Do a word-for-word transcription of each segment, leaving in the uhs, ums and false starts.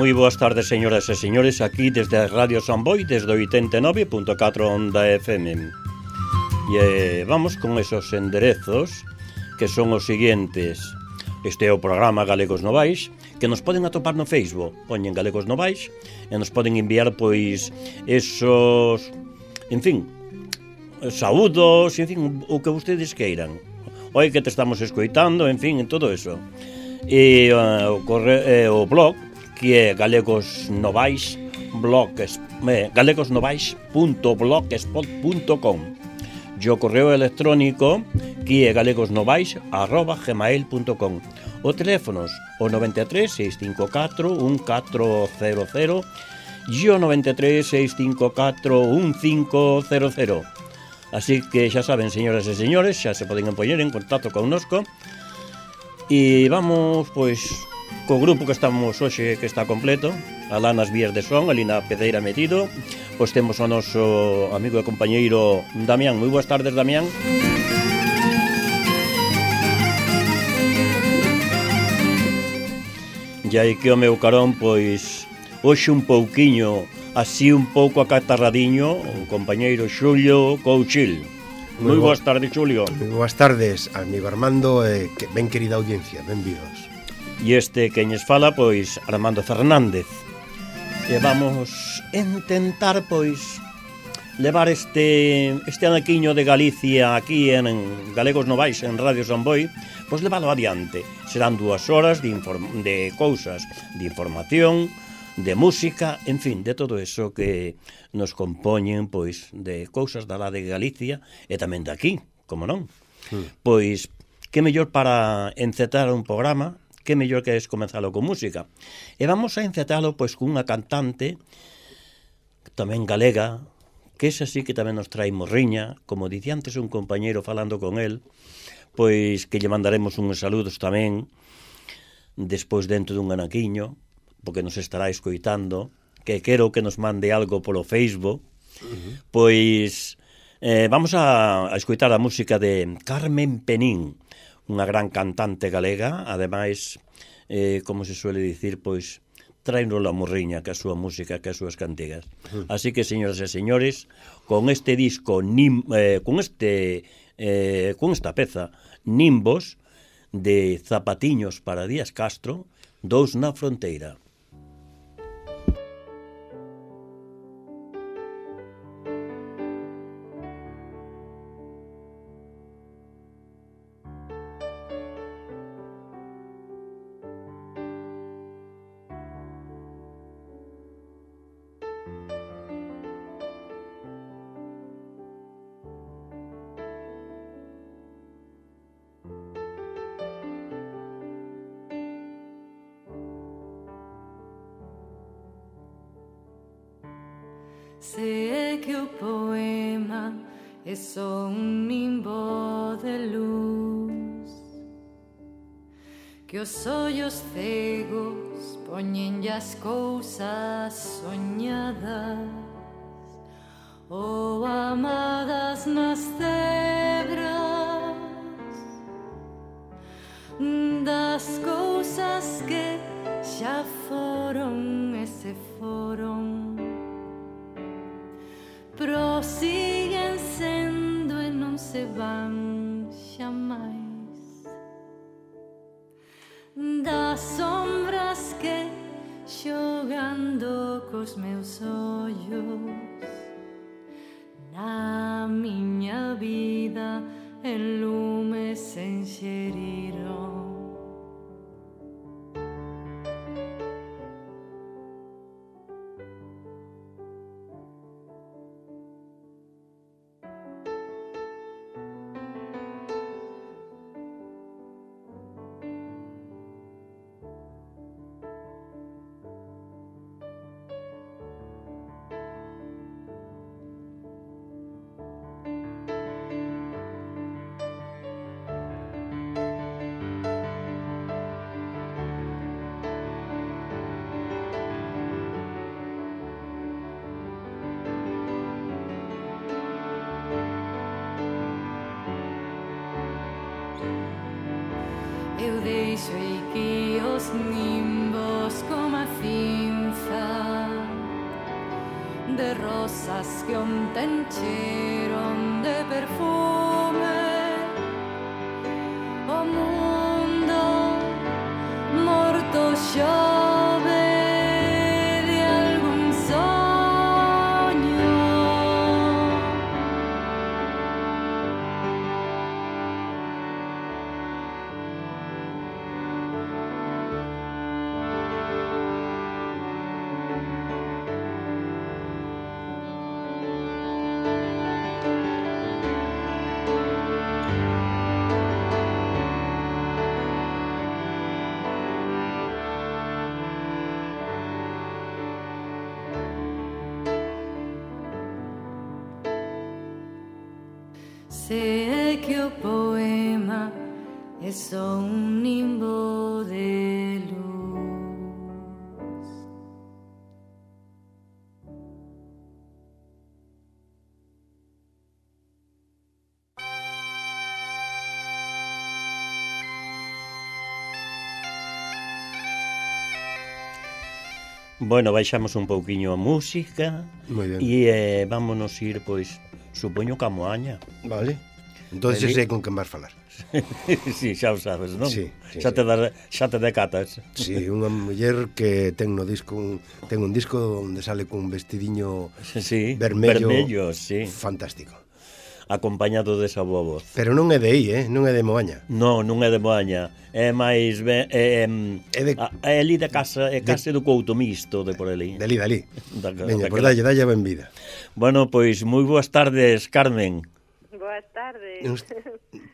moi boas tardes, señoras e señores, aquí desde a Radio Samboy, desde o oitenta e nove punto catro Onda F M. E vamos con esos enderezos, que son os seguintes. Este é o programa Galegos Novais, que nos poden atopar no Facebook, poñen Galegos Novais, e nos poden enviar, pois, esos, en fin, saúdos, en fin, o que vostedes queiran. Oi, que te estamos escoitando, en fin, en todo eso. E uh, o, corre, eh, o blog, que é Galegos Novais, blog, eh, galegosnovais punto blogspot punto com. E o correo electrónico, que é galegosnovais arroba gmail punto com. O teléfonos, o noventa e tres, seis cinco catro, un catro cero cero e o noventa e tres, seis cinco catro, un cinco cero cero. Así que xa saben, señoras e señores, xa se poden poñer en contacto connosco. E vamos, pois, co grupo que estamos hoxe, que está completo, alá nas vías de son, ali na Pedeira metido. Pois temos o noso amigo e compañeiro Damián. Moi boas tardes, Damián. E aí que o meu carón, pois, hoxe un pouquiño, así un pouco acatarradiño, o compañeiro Xulio Couchil. Moi boas tardes, Xulio. Moi boas tardes, amigo Armando e que ben querida audiencia, benvidos. E este queñes fala, pois, Armando Fernández. E vamos intentar, pois, levar este este anaquiño de Galicia aquí en, en Galegos Novais, en Radio Samboy, pois leválo adiante. Serán dúas horas de, inform- de cousas, de información, de música, en fin, de todo eso que nos compoñen, pois, de cousas da lá de Galicia e tamén de aquí, como non? Mm. Pois, que mellor para encetar un programa, que mellor que es comenzalo con música. E vamos a encetalo, pois, con unha cantante tamén galega, que es así que tamén nos trae morriña, como dicía antes un compañeiro falando con el, pois que lle mandaremos uns saludos tamén, despois dentro dun anaquiño, porque nos estará escoitando, que quero que nos mande algo polo Facebook. Uh-huh. Pois eh, vamos a, a escoitar a música de Carmen Penín, unha gran cantante galega, ademais, eh, como se suele dicir, pois traenos la morriña, que a súa música, que as súas cantigas. Uh-huh. Así que, señoras e señores, con este disco, nim, eh, con este eh, con esta peza, Nimbos, de Zapatiños para Díaz Castro, Dous na Fronteira. Sé que o poema é só un nimbo de luz, que os ollos cegos poñen as cousas soñadas ou amadas nas cebras das cousas que xa foron e se foron, prosiguen sendo e non se van xamais, das sombras que xogando cos meus ollos na miña vida en lume se enxeriron. Eu deixo que os nimbos como a cinza de rosas que onte encheron de perfume. O mundo morto xove de algún soño. Sé que o poema é só un nimbo de luz. Bueno, baixamos un pouquiño a música. Moi ben. E eh, vámonos ir, pois, supoño que a Moaña. Vale. Entón Eli- sei con quen vas falar. Si, xa o sabes, non? Sí, sí, xa, sí. Te da, xa te decatas. Sí, unha muller que ten no disco un, ten un disco onde sale cun vestidiño Sí, vermello, vermello, sí, fantástico. acompañado desa boa voz. Pero non é de aí, eh? Non é de Moaña. Non, non é de Moaña, é máis ben, é, é, É de- a- é ali de casa, é case do Couto Misto de por ali. Dali, dali. Da- Veña, daquela- pois dalle, dalle a benvida. Bueno, pois moi boas tardes, Carmen. Boas tardes. Uns-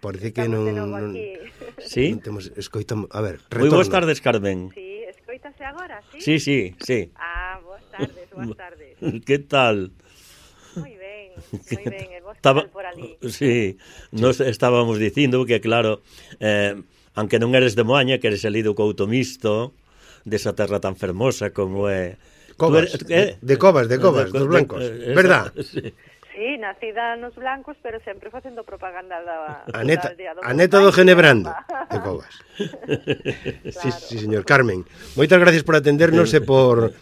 Parece que Estamos non, de novo non, aquí. Sí? non temos escoitamos, a ver, Moi boas retorna. tardes, Carmen. Sí, escoítase agora, sí? Sí, sí, sí. Ah, boas tardes, boas tardes. Que tal? Moi ben, moi ben, e vos Estaba- tal por ali? Sí, nos estábamos dicindo que, claro, eh, aunque non eres de Moaña, que eres ali do Couto Misto, desa terra tan fermosa como é... Covas, Tú eres- de, de Covas, de Covas, dos blancos, eh, verdad? Sí. Sí, nacida nos blancos, pero sempre facendo propaganda da... A neta, da aldea do a meu neta pai, do Genebrando, caramba. de Covas. Sí, Claro. sí, señor Carmen. Moitas gracias por atendernos e por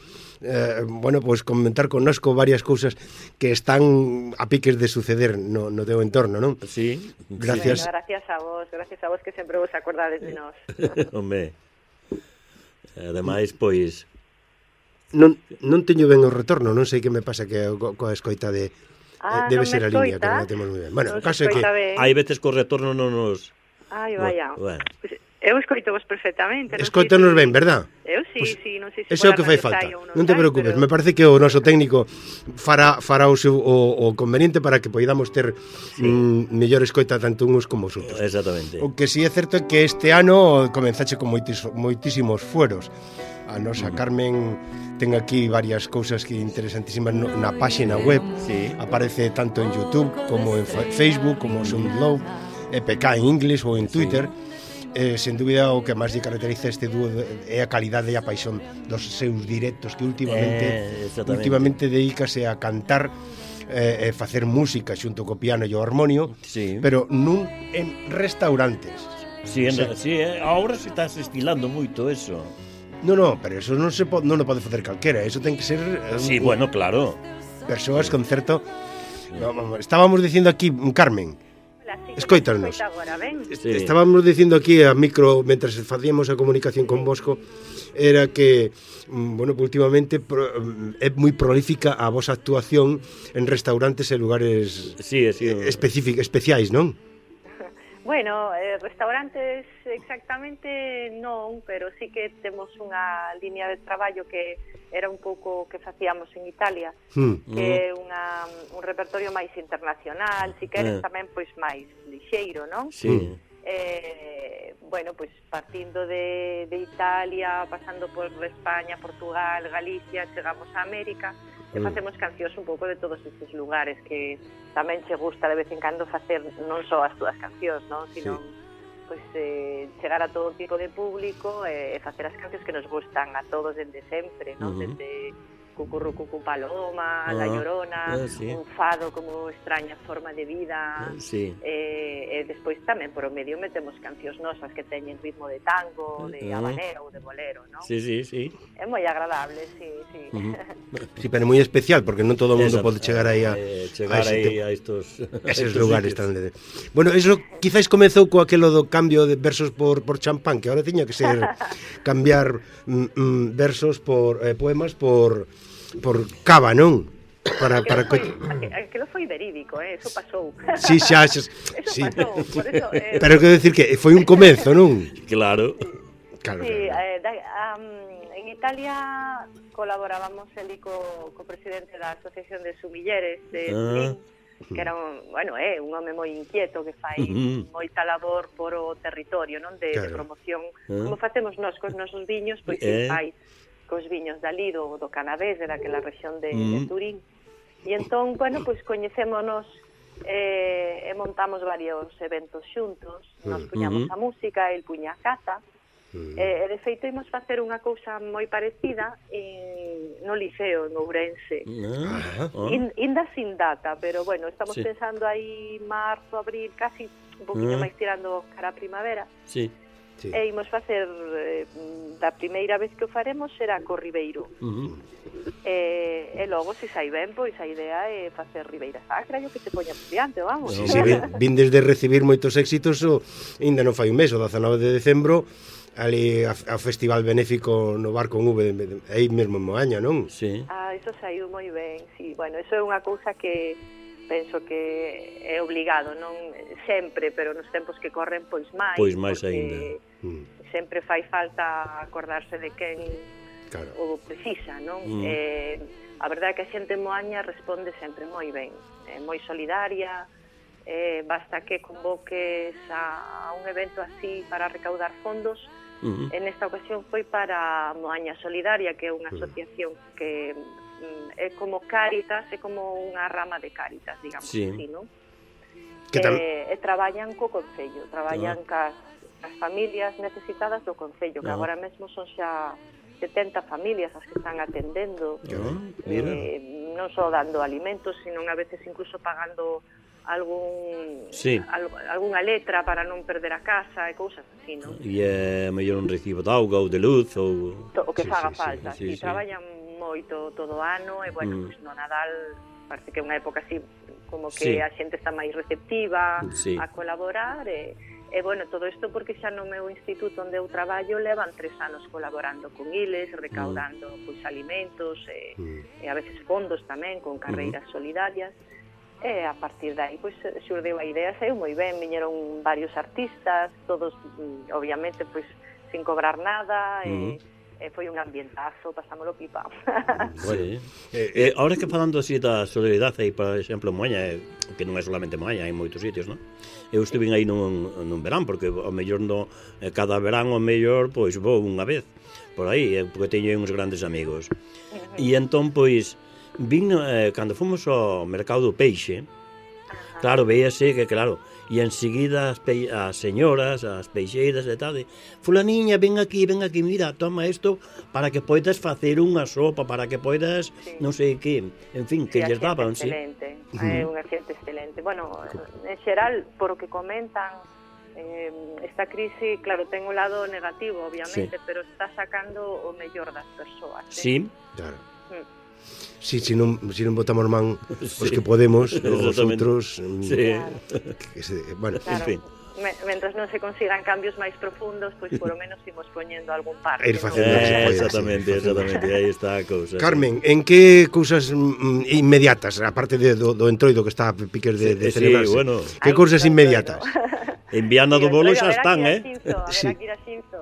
eh, bueno, pois pues, comentar connosco varias cousas que están a piques de suceder no, no teu entorno, non? Sí, Gracias. Bueno, gracias a vos, gracias a vos que sempre vos acordades de nós. Home. Ademais, pois... Non, non teño ben o retorno, non sei que me pasa que co- coa escoita de Ah, eh, debe non me ser a línea, que escoita? non a temos moi ben. Bueno, Non o se caso é que escoita ben. Hai veces que o retorno non nos... Ai, vaya. Bueno. Pues, eu escoito vos perfectamente. non sei escoitanos si- ben, verdad? Eu sí, Pues, sí, non sei se Eso é o pola que fai radio falta. sai ou Non te sai, preocupes, pero- me parece que o noso técnico fará fará o seu o, o conveniente para que poidamos ter sí. mm, mellor escoita tanto uns como os outros. Exactamente. O que sí é certo é que este ano comenzache con moitis, moitísimos fueros. A nosa Carmen ten aquí varias cousas que interesantísimas no, na páxina web. Sí. Aparece tanto en YouTube como en fa- Facebook, como SoundCloud, E P K en inglés ou en Twitter. Eh, sen dúbida o que máis lle caracteriza este dúo de- é a calidade e a paixón dos seus directos que últimamente Eh, exactamente. últimamente dedícase a cantar eh, e facer música xunto co piano e o armonio, Sí. pero nun en restaurantes. Sí, en, Sí. sí, eh, ahora se estás estilando moito eso. No, no, pero eso non se po, non o pode facer calquera, eso ten que ser eh, Sí, un- bueno, claro. persoas con certo. No, vamos, estábamos dicindo aquí, Carmen, Hola, sí, que Escoítanos. me escoita agora, ben? Sí. estábamos dicindo aquí a micro mentras facíamos a comunicación con Bosco, era que mm, bueno, últimamente pro, mm, é moi prolífica a vosa actuación en restaurantes e lugares Sí, sí. específicos, especiais, non? Bueno, eh, restaurantes exactamente non, pero sí que temos unha línea de traballo que era un pouco que facíamos en Italia, Hmm. que é unha, un repertorio máis internacional, si queres Eh. tamén pois máis lixeiro, non? Sí. Eh, bueno, pois partindo de, de Italia, pasando por España, Portugal, Galicia, chegamos a América e Mm. facemos cancións un pouco de todos estes lugares que tamén che gusta de vez en cando facer non só as túas cancións, non? Sino pois eh, chegar a todo tipo de público e, e facer as cancións que nos gustan a todos desde sempre, non? Ujú. Desde Cucurrucucu Paloma, Ah, La Llorona, ah, sí. un fado como Extraña Forma de Vida, Sí. e, e despois tamén por o medio metemos cancións nosas que teñen ritmo de tango, de Ah. habanero ou de bolero, non? Sí, sí, sí. É moi agradable, sí, sí. Ujú. Sí, pero é moi especial, porque non todo o mundo Exacto. pode chegar aí a, Eh, chegar a ese aí te- a estos, a eses estos lugares sitios. tan de... Bueno, eso quizáis comezou co aquelo do cambio de versos por, por champán, que ahora tiña que ser cambiar mm, mm, versos por eh, poemas por por cava, non? Para para Aquilo foi, co- aqu- aquilo foi verídico, eh? Eso pasou. Sí, xa, xa, Eso sí. pasou, por eso... Eh, Pero quero decir que foi un comezo, non? Claro. Claro, Sí, claro. eh, da, um, en Italia colaborábamos eli co, co presidente da Asociación de Sumilleres de Ah. Turín, que era un, bueno, é eh, un home moi inquieto que fai Ujú. moita labor por o territorio, non, de, de Claro. promoción, Ah. como facemos nós cos nosos viños, pois Eh. eh. fai cos viños dali do, do Canavés, de daquela rexión de, Mm. de Turín. E entón, bueno, pois coñecémonos eh, e montamos varios eventos xuntos, nos puñamos Ujú. a música, el puña a caza, Mm. e, e de feito imos facer unha cousa moi parecida en, no Liceo, en Ourense. Ah, ah. In, inda sin data, pero bueno, estamos Sí. pensando aí marzo, abril, casi un poquinho Ah. máis tirando cara a primavera, Sí. Sí. e imos facer, eh, da primeira vez que o faremos será co Ribeiro. Ujú. E, e logo, se sai ben, pois a idea é facer Ribeira Sacra, e o que se poña por diante, vamos. Sí, sí, vin, vindes de recibir moitos éxitos, o, ainda non fai un mes, o dezanove de decembro, ali a, a festival benéfico no bar con V, de- de- aí mesmo en Moaña, non? Sí. Ah, iso saiu moi ben, sí. Bueno, iso é unha cousa que penso que é obligado, non sempre, pero nos tempos que corren, pois máis. Pois máis porque aínda. Mm, sempre fai falta acordarse de quen claro. o precisa, non? Mm. Eh, a verdade é que a xente en Moaña responde sempre moi ben, é moi solidaria, eh, basta que convoques a, a un evento así para recaudar fondos. Ujú. En esta ocasión foi para Moaña Solidaria, que é unha asociación que mm, é como Cáritas, é como unha rama de Cáritas, digamos Sí. así, non? Que tam- Eh, e traballan co Concello, traballan cas, cas familias necesitadas do Concello, que Ah. agora mesmo son xa setenta familias as que están atendendo, Ah, mira. eh, non só dando alimentos, sino a veces incluso pagando algún Sí. al, algunha letra para non perder a casa e cousas así, non? E é mellor un recibo de auga ou de luz ou... To- o que Sí, faga sí, sí, falta, sí, si sí. traballan moito todo o ano e bueno, Mm. pues, no Nadal parece que é unha época así como Sí. que a xente está máis receptiva Sí. a colaborar e, e bueno, todo isto porque xa no meu instituto onde eu traballo levan tres anos colaborando con iles, recaudando Mm. pois alimentos e, Mm. e a veces fondos tamén con carreiras solidarias. E a partir de aí, pois, xurdeu a idea, saiu moi ben, viñeron varios artistas, todos, mm, obviamente, pois, sin cobrar nada, Ujú. e, e foi un ambientazo, pasámolo pipa. Sí. Eh, Eh, ahora que falando así da solidaridade aí, por exemplo, en Moaña, eh, que non é solamente Moaña, hai moitos sitios, non? Eu estive aí nun, nun verán, porque ao mellor no, eh, cada verán ao mellor, pois vou unha vez por aí, eh, porque teño uns grandes amigos. E entón, pois, vin, eh, cando fomos ao mercado do peixe, claro, veíase que, claro, e enseguida as, pe as señoras, as peixeiras e tal, de, fulaniña, ven aquí, ven aquí, mira, toma isto para que poidas facer unha sopa, para que poidas, Sí. non sei que, en fin, que Sí, a lles xente daban, sí. excelente, é unha xente excelente. Bueno, en xeral, por o que comentan, eh, esta crise, claro, ten un lado negativo, obviamente, Sí. pero está sacando o mellor das persoas. eh. Sí, Claro. Mm. Sí, si non, si non botamos man os Sí. que podemos, os Exactamente. outros, mm, sí. que se, bueno, Claro. En fin. Me, mentras non se consigan cambios máis profundos, pois por lo menos imos poñendo algún parche. Ir ¿no? facendo o que se Eh, pode, exactamente, sí, facendo. exactamente, aí está a cousa. sí. Carmen, en que cousas mm, inmediatas, aparte de, do, do entroido que está a piques de, de Sí, celebrarse, bueno. que Aí, cousas pronto, inmediatas? En Viana do Bolo xa están, eh? Sí. eh?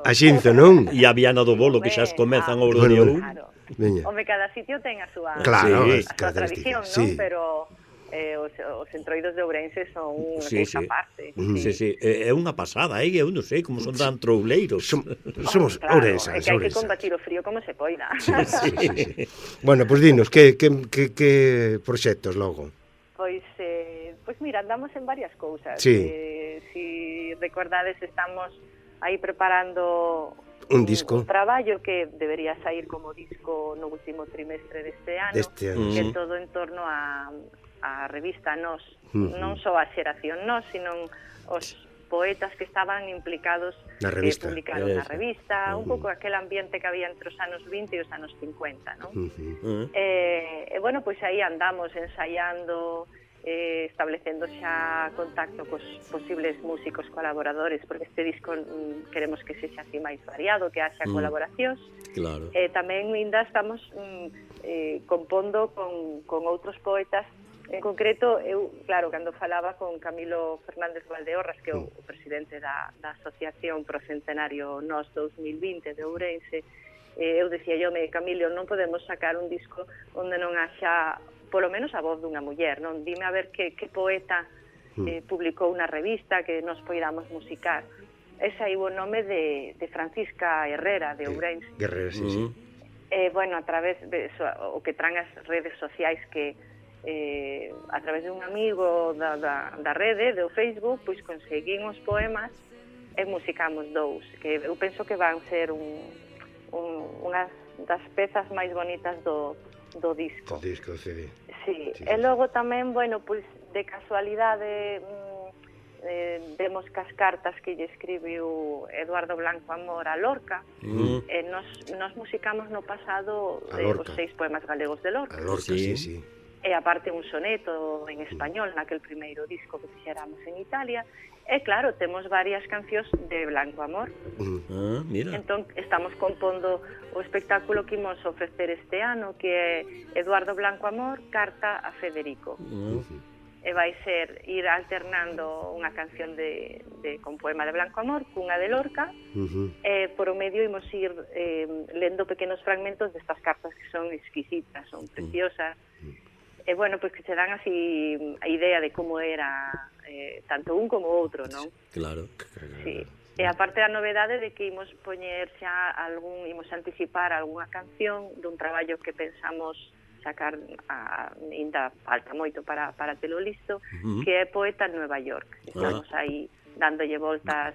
A Xinzo, non? E a Viana do Bolo, que xa Home, comezan ah, o bueno, rodeo. bueno. Claro. Veña. Home, cada sitio ten a súa, Claro, Sí. as a súa tradición, características, non? sí. Pero eh, os, os entroidos de Ourense son unha Sí, cousa sí. aparte. Mm. Sí, sí, é é unha pasada, eh? Eu non sei como son tan trouleiros. Som, Oh, somos claro, ourensas, é que hai que ourensas. combatir o frío como se poida. Sí, sí, sí. Bueno, pois pues dinos, que, que, que, que proxectos logo? Pois, eh, pois mira, andamos en varias cousas. Sí. Eh, si recordades, estamos aí preparando Un disco. Un traballo que debería sair como disco no último trimestre deste ano, Deste ano, que é sí. todo en torno a, a revista Nós, Uh-huh. non só a xeración Nós, sino os poetas que estaban implicados Na revista. que publicaron na Eso. revista, Uh-huh. un pouco aquel ambiente que había entre os anos vinte e os anos cincuenta, non? Uh-huh. Uh, Eh, e, bueno, pois aí andamos ensaiando, eh, establecendo xa contacto cos posibles músicos colaboradores, porque este disco mm, queremos que sexa así máis variado, que haxa Mm. colaboracións. claro. E tamén ainda estamos mm, eh, compondo con, con outros poetas. En concreto, eu, claro, cando falaba con Camilo Fernández Valdeorras, que é o, o presidente da, da Asociación Pro Centenario Nós dos mil vinte de Ourense, eh, eu decía yo, me, Camilo, non podemos sacar un disco onde non haxa polo menos a voz dunha muller, non? Dime a ver que, que poeta eh, publicou unha revista que nos poidamos musicar. Ese aí o nome de, de Francisca Herrera, de Ourense. Guerrero, sí, sí. Uh, Eh, bueno, a través de so, o que traen as redes sociais que eh, a través de un amigo da, da, da rede, do Facebook, pois conseguín os poemas e musicamos dous, que eu penso que van ser un, un, unhas das pezas máis bonitas do, do disco. O disco C D. Sí, Sí, e sí. logo tamén, bueno, pois de casualidade mm, eh, vemos que as cartas que lle escribiu Eduardo Blanco Amor a Lorca, uh, e nos, nos musicamos no pasado A eh, Lorca. os seis poemas galegos de Lorca. A Lorca, Sí. sí, sí. E aparte un soneto en español naquel primeiro disco que fixéramos en Italia. E claro, temos varias cancións de Blanco Amor. Uh, ah, mira. Entón, estamos compondo o espectáculo que imos ofrecer este ano, que é Eduardo Blanco Amor, Carta a Federico. Uh, E vai ser ir alternando unha canción de, de con poema de Blanco Amor cunha de Lorca, uh-huh. e por o medio imos ir eh, lendo pequenos fragmentos destas cartas que son exquisitas, son preciosas. E bueno, pois que se dan así a idea de como era eh, tanto un como o outro, non? claro. Sí. E aparte a novedade de que imos poñer xa algún, imos anticipar algunha canción dun traballo que pensamos sacar, a, ainda falta moito para, para telo listo, Uh-huh. que é Poeta en Nueva York. Estamos aí dándolle voltas,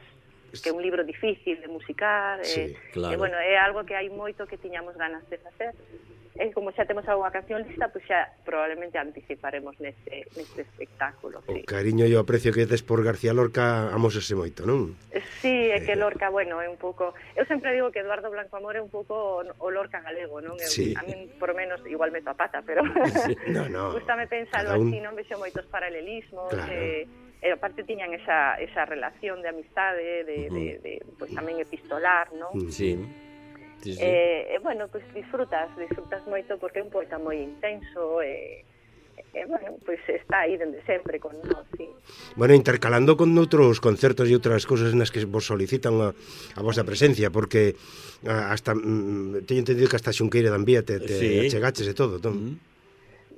que é un libro difícil de musicar, Sí, e, claro. e bueno, é algo que hai moito que tiñamos ganas de facer. E como xa temos algunha canción lista, pois xa probablemente anticiparemos neste, neste espectáculo. O Sí. cariño e o aprecio que tes por García Lorca amosase moito, non? Sí, é que Lorca, bueno, é un pouco... Eu sempre digo que Eduardo Blanco Amor é un pouco o Lorca galego, non? Eu, Sí. A min, por menos, igual meto a pata, pero... No, no. Gústame pensalo Cada un- así, non vexo moitos paralelismos, Claro. eh, e aparte tiñan esa, esa relación de amistade, de, Ujú. de, de, pues tamén epistolar, non? Mm. Sí. Sí, sí. Eh, e, bueno, pues disfrutas, disfrutas moito porque é un poeta moi intenso, e, e bueno, pois pues está aí dende sempre con nós, sí. Bueno, intercalando con outros concertos e outras cousas nas que vos solicitan a, a vosa presencia, porque a, hasta mm, teño entendido que hasta Xunqueira de Ambía te, te Sí. achegaches e todo, non? Mm.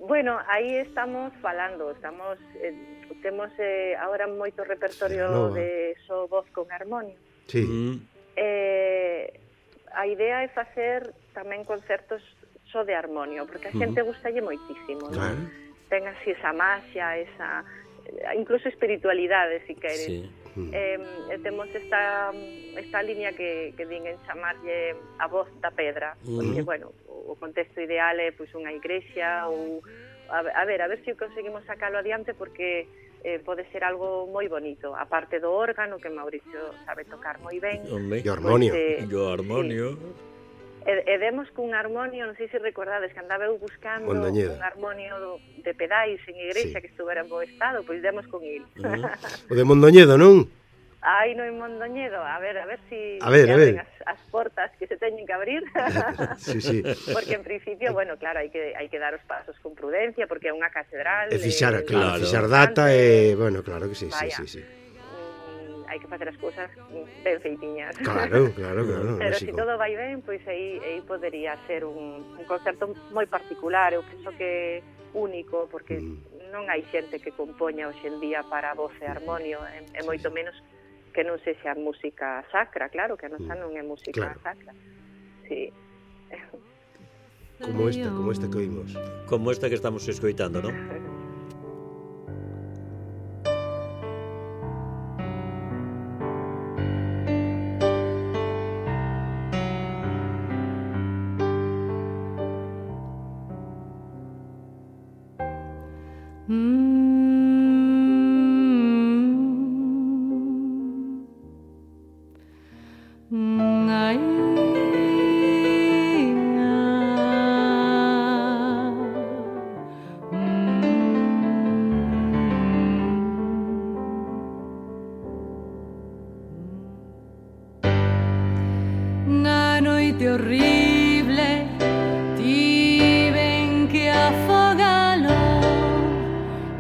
Bueno, aí estamos falando, estamos eh, temos eh, agora moito repertorio Nova. de só voz con armonio. Sí. Mm. Eh, a idea é facer tamén concertos só de armonio, porque a xente gustalle moitísimo, non? Claro. Ten así esa maxia, esa incluso espiritualidade, si queres. Sí. Eh, e temos esta esta línea que, que din en chamarlle a voz da pedra, porque, Ujú. bueno, o contexto ideal é pois unha igrexa ou a, a ver, a ver se conseguimos sacalo adiante, porque eh, pode ser algo moi bonito, aparte do órgano que Mauricio sabe tocar moi ben. Hombre. E o armonio. Pois, eh, Yo armonio. E, e demos cun armonio, non sei se recordades, que andaba eu buscando Mondoñedo. un armonio do- de pedais en igrexa Sí. que estuvera en bo estado, pois demos con il. O de Mondoñedo, non? Ai, no en Mondoñedo, a ver, a ver si A ver, se a ver. abren as, as portas que se teñen que abrir. Sí, sí. Porque en principio, bueno, claro, hai que hai que dar os pasos con prudencia, porque é unha catedral. E fixar, eh, claro, Claro. fixar data e, bueno, claro que sí, sí, Vaya. sí, sí. mm, hai que facer as cousas ben feitiñas. Claro, claro, claro, Pero se lógico. si todo vai ben, pois aí, aí podería ser un, un concerto moi particular. Eu penso que único, porque Mm. non hai xente que compoña hoxe en día para voz e armonio, e, e moito menos que non sexa música sacra, claro, que a nosa non é música Claro. sacra. Sí. Como esta, como esta que oímos. Como esta que estamos escoitando, ¿no? Na noite horrible tiven que afogalo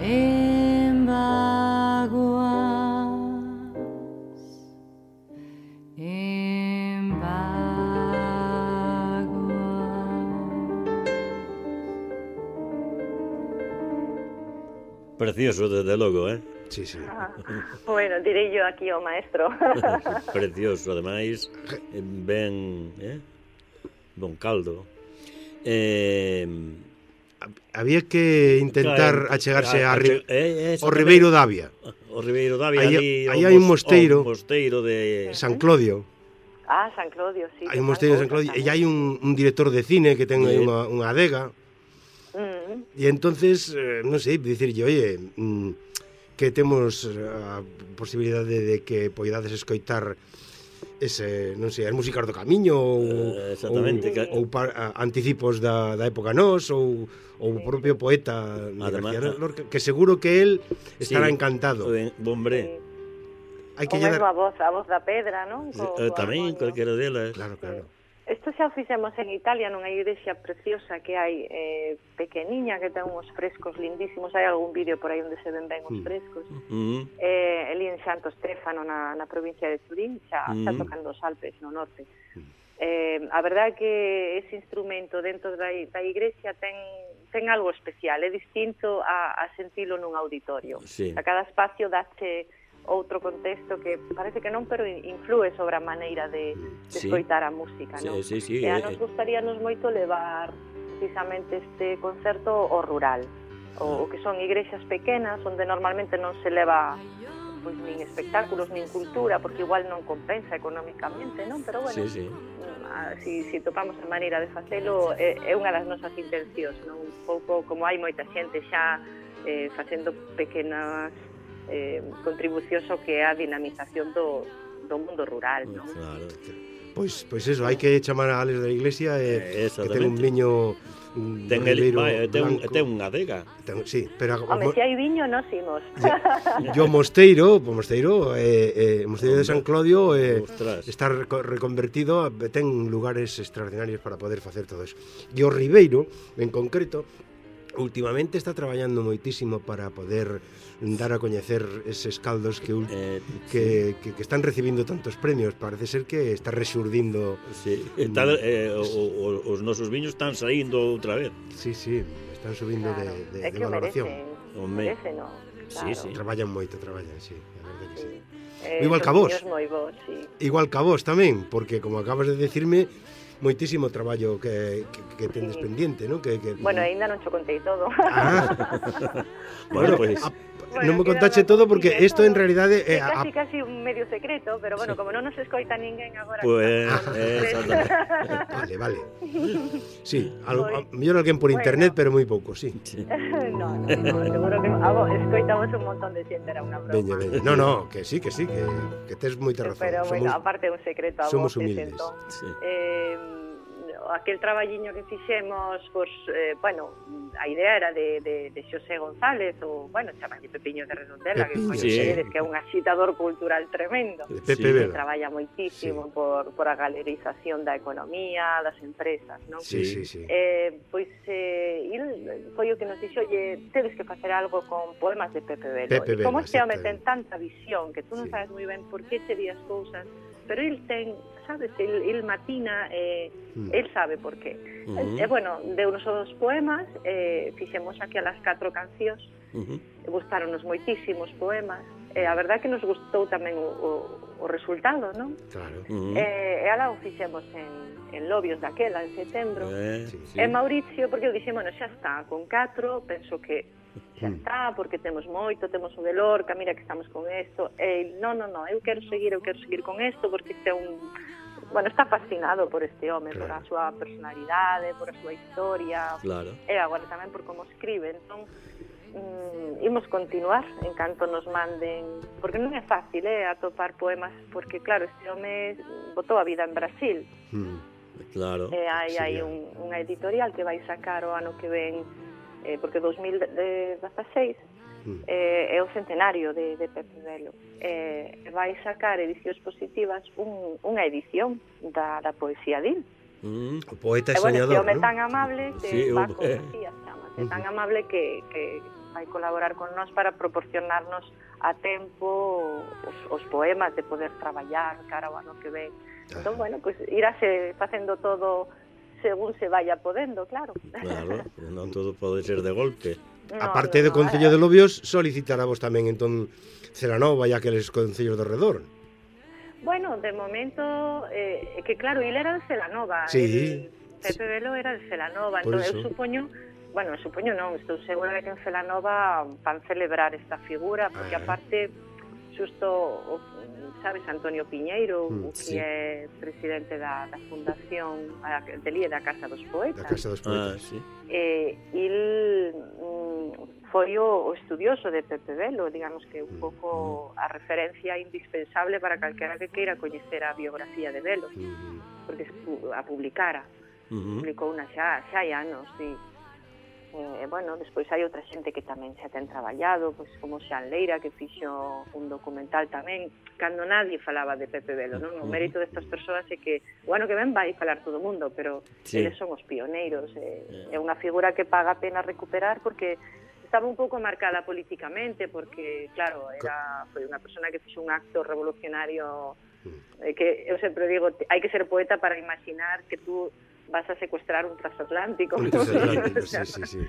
en vaguas, en vaguas. Precioso, desde logo, eh? Sí, sí. Ah, bueno, direi yo aquí ao maestro. Precioso, ademais, ben, eh? Bon caldo. Eh, Había que intentar claro, achegarse a- a, Ri- eh, ao Ribeiro Davia, O Ribeiro Davia, Aí- ali, aí o hai un mos- mosteiro. o mosteiro de... San Clodio. Ah, San Clodio, sí. Hai un mosteiro de San Clodio e hai un, un director de cine que ten aí Sí. unha, unha adega. Mm, E entonces, eh, non sei, dicirlle, oye, mm, que temos a posibilidade de que poidades escoitar ese, non sei, as músicas do camiño ou, Eh, exactamente, ou, que- ou par, a, anticipos da, da época nós ou, ou o propio poeta de Además, García Lorca, que seguro que él estará Sí. encantado. Ben, hombre, Hai o que lle mesmo dar... a voz, a voz da pedra, non? Co- eh, co tamén, armonio. calquera delas. Claro, claro. Isto xa o fixemos en Italia, nunha igrexa preciosa que hai eh, pequeniña, que ten uns frescos lindísimos. Hai algún vídeo por aí onde se ven ben os Mm. frescos. Mm, Eh, ali en Santo Stefano, na, na provincia de Turín, xa, xa Mm. tocando os Alpes no norte. Eh, a verdade é que ese instrumento dentro da, da igrexa ten, ten algo especial, é distinto a, a sentilo nun auditorio. Sí. A cada espacio dache outro contexto que parece que non, pero influe sobre a maneira de, de Sí. escoitar a música, Sí, non? sí, sí, E a eh, nos eh. gustaríanos moito levar precisamente este concerto ao rural, o, o que son igrexas pequenas onde normalmente non se leva pois nin espectáculos, nin cultura, porque igual non compensa económicamente, non? Pero bueno, Sí, sí. ah, si, si topamos a maneira de facelo, é, é unha das nosas intencións, non? Un pouco como hai moita xente xa eh, facendo pequenas eh, contribucións ao que é a dinamización do, do mundo rural, non? Claro. Pois, pois eso, hai que chamar a Alex da iglesia e Eh, que ten un exactamente. viño mm, Ten, do el, Ribeiro vai, ten, un- blanco. ten unha adega. Ten- sí, pero a- Home, se hai viño, nos imos. yo mosteiro, o mosteiro, eh, eh, mosteiro de San Clodio eh, Ostras. está reco- reconvertido, a- ten lugares extraordinarios para poder facer todo eso. E o Ribeiro, en concreto, últimamente está traballando moitísimo para poder dar a coñecer eses caldos que ul- Eh, que, que, que están recibindo tantos premios. Parece ser que está rexurdindo. sí. Está, eh, o, o, os nosos viños están saindo outra vez. Sí, sí, están subindo Claro, de, de, é de que o valoración. merecen, Home. merecen, non? Sí, sí. Traballan moito, traballan, sí, a verdade que sí. Eh, Igual son que a vos. viños moi bons, sí. Igual que a vos tamén, porque como acabas de decirme, moitísimo traballo que, que, que tendes Sí. pendiente, ¿no? Que, que... Bueno, aínda non cho contei todo. Ah, Bueno, bueno, pues, a, Bueno, non me queda contache unha todo porque cousiña, isto en todo. realidade É é a, casi, casi un medio secreto, pero bueno, como non nos escoita ninguén agora. pues, que estamos eh, nos tres. a, vale, vale. Sí, algo, a, Pois, mellor alguén por bueno. internet, pero moi pouco, sí. sí. no, no, no, seguro que a vos escoitamos un montón de xente, era unha broma. Veña, veña. No, no, que sí, que sí, que, que tes moita razón. Pero, bueno, Somos, aparte é un secreto a somos voces, humildes. entón. Sí. Eh, aquel traballiño que fixemos, pois, eh, bueno, a idea era de, de, de Xosé González, ou, bueno, chamalle Pepiño de Redondela, Pepiño, que, sí. coñecedes, que é un agitador cultural tremendo. de Pepe Sí, Que Vela. traballa moitísimo por, por a galerización da economía, das empresas, non? Sí, sí, sí. Eh, pois eh, il foi o que nos dixo, oye, tedes que facer algo con poemas de Pepe Velo. Pepe E como Vela, este home exactamente. ten tanta visión que tú non Sí. sabes moi ben por que che di as cousas, pero il ten, sabes, il, il matina, eh, Mm. el sabe por qué. Ujú. E, e bueno, deu-nos os poemas, eh, fixemos aquí a las catro cancións, Ujú. gustaronos moitísimos poemas, e a verdade que nos gustou tamén o, o, o resultado, non? Claro. Ujú. Eh, e ala o fixemos en, en Lobios daquela, en setembro. Eh, Sí, sí. E Mauricio, porque eu dixen, bueno, xa está, con catro, penso que xa Mm. está, porque temos moito, temos o de Lorca, mira que estamos con isto. E non, non, non, eu quero seguir, eu quero seguir con isto, porque este é un... Bueno, está fascinado por este home, por a Claro. súa personalidade, por a súa historia, Claro. e agora tamén por como escribe. Entón, mm, imos continuar en canto nos manden, porque non é fácil, eh, atopar poemas, porque claro, este home botou a vida en Brasil. Mm. Claro. E hai, Sí, hai yeah. un, unha editorial que vai sacar o ano que ven, eh, porque dos mil dezasseis Mm. eh, é o centenario de, de Pepe Velo. Eh, vai sacar edicións positivas un, unha edición da, da poesía din. Mm. O poeta E bueno, este soñador, home non? tan amable que Sí, va o- con poesía, chamase, tan amable que, que vai colaborar con nós para proporcionarnos a tempo os, os poemas de poder traballar cara ao ano que ven. Entón, bueno, pues irase facendo todo según se vaya podendo, claro. Claro, non todo pode ser de golpe. No, Aparte no, do no, Concello eh, de Lobios, solicitarávos tamén entón Celanova e aqueles concellos de redor. Bueno, de momento, eh, que claro, ele era de Celanova. Sí. El Pepe Velo era de Celanova. Por Entón, eso. eu supoño, bueno, supoño non, estou segura de que en Celanova van celebrar esta figura, porque Ah. aparte, xusto, o, sabes, Antonio Piñeiro, Mm, o que sí. é presidente da, da Fundación a, de Lía da Casa dos Da Poetas. Casa dos Ah, Poetas. sí. Eh, il mm, foi o, o estudioso de Pepe Velo, digamos que un pouco a referencia indispensable para calquera que queira coñecer a biografía de Velo, Mm. porque a publicara, Uh-huh. publicou unha xa, xa hai anos, sí. Eh, bueno, despois hai outra xente que tamén xa ten traballado, pois como Xan Leira, que fixo un documental tamén, cando nadie falaba de Pepe Velo, non? O mérito destas persoas é que o ano que ven vai falar todo o mundo, pero Sí. eles son os pioneiros, eh, é unha figura que paga a pena recuperar porque estaba un pouco marcada políticamente, porque, claro, era foi unha persona que fixo un acto revolucionario, eh, que eu sempre digo, hai que ser poeta para imaginar que tú vas a secuestrar un transatlántico. Un transatlántico, sí, sí, sí.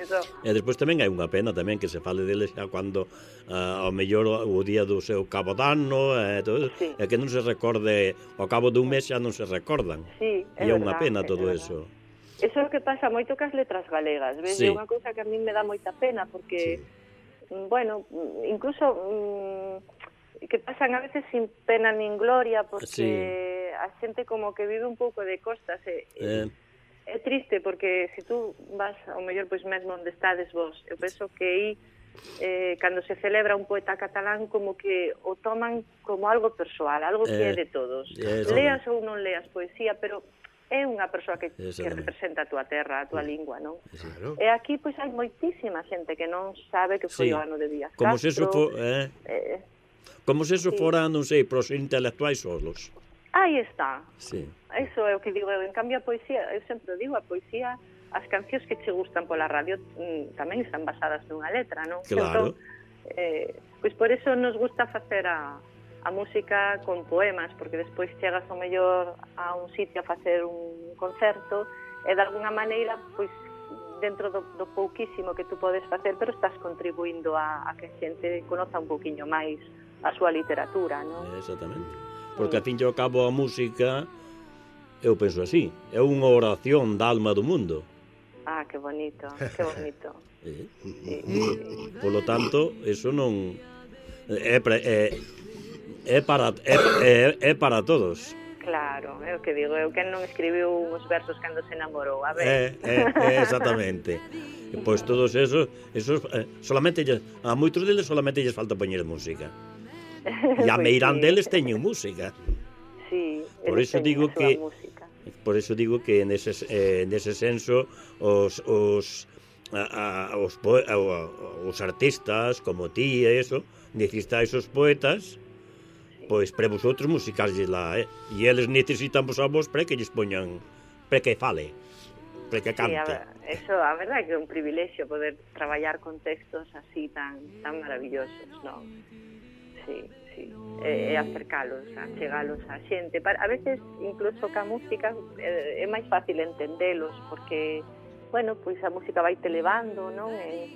Eso. E despois tamén hai unha pena tamén que se fale deles xa cando uh, ao mellor o día do seu cabo dano e todo, Sí. e que non se recorde ao cabo dun mes xa non se recordan. Sí, é E é unha verdad, pena é todo verdad. eso. Eso é o que pasa moito cas letras galegas, ves? Sí. É unha cousa que a mí me dá moita pena porque, mm, bueno, mm, incluso mm, que pasan a veces sin pena nin gloria porque Sí. a xente como que vive un pouco de costas e, Eh, é triste porque se tú vas ao mellor pois mesmo onde estades vos, eu penso que aí eh, cando se celebra un poeta catalán como que o toman como algo persoal, algo que Eh, é de todos. eh, Leas ou non leas poesía, pero é unha persoa que, que Exactamente. representa a túa terra, a túa lingua, non? Claro. E aquí pois hai moitísima xente que non sabe que foi Sí. o ano de Díaz como se eso Castro. fo, eh, eh, como se eso Sí. fora, non sei, pros intelectuais solos. aí está. Sí. Eso é o que digo eu. En cambio, a poesía, eu sempre digo, a poesía, as cancións que che gustan pola radio mm, tamén están basadas nunha letra, non? Claro. Entón, eh, pois por eso nos gusta facer a, a música con poemas, porque despois chegas ao mellor a un sitio a facer un concerto e de alguna maneira, pois dentro do, do pouquísimo que tú podes facer, pero estás contribuindo a, a que a xente conoza un poquinho máis a súa literatura, non? Exactamente. Porque, a fin e ao cabo, a música, eu penso así, é unha oración da alma do mundo. Ah, que bonito, que bonito. Eh? Sí, sí. Polo tanto, eso non... É, pre- é, é, para, é, é, é para todos. Claro, é o que digo, eu quen non escribiu uns versos cando se enamorou, a ver. É, é, é exactamente. E, pois todos esos, esos eh, solamente lles, a moitos deles solamente lles falta poñer música. E a Pois meirán sí. deles teñen música. Sí, Por eles iso teñen digo a súa que- música. Por eso digo que nese, eh, nese senso os, os, a, a, os, poe, a, os artistas como ti e eso, necesitáis os poetas, pois para vosotros musicalles lá, eh? E eles necesitan vos a vos para que lles poñan, para que fale, para que Sí, cante. a, ver, eso, a verdade é que é un privilexio poder traballar con textos así tan tan maravillosos, non? Sí, sí. E, e acercalos, a chegalos á xente. Para, a veces, incluso ca música, é, é máis fácil entendelos, porque, bueno, pois a música vai te levando, non? E,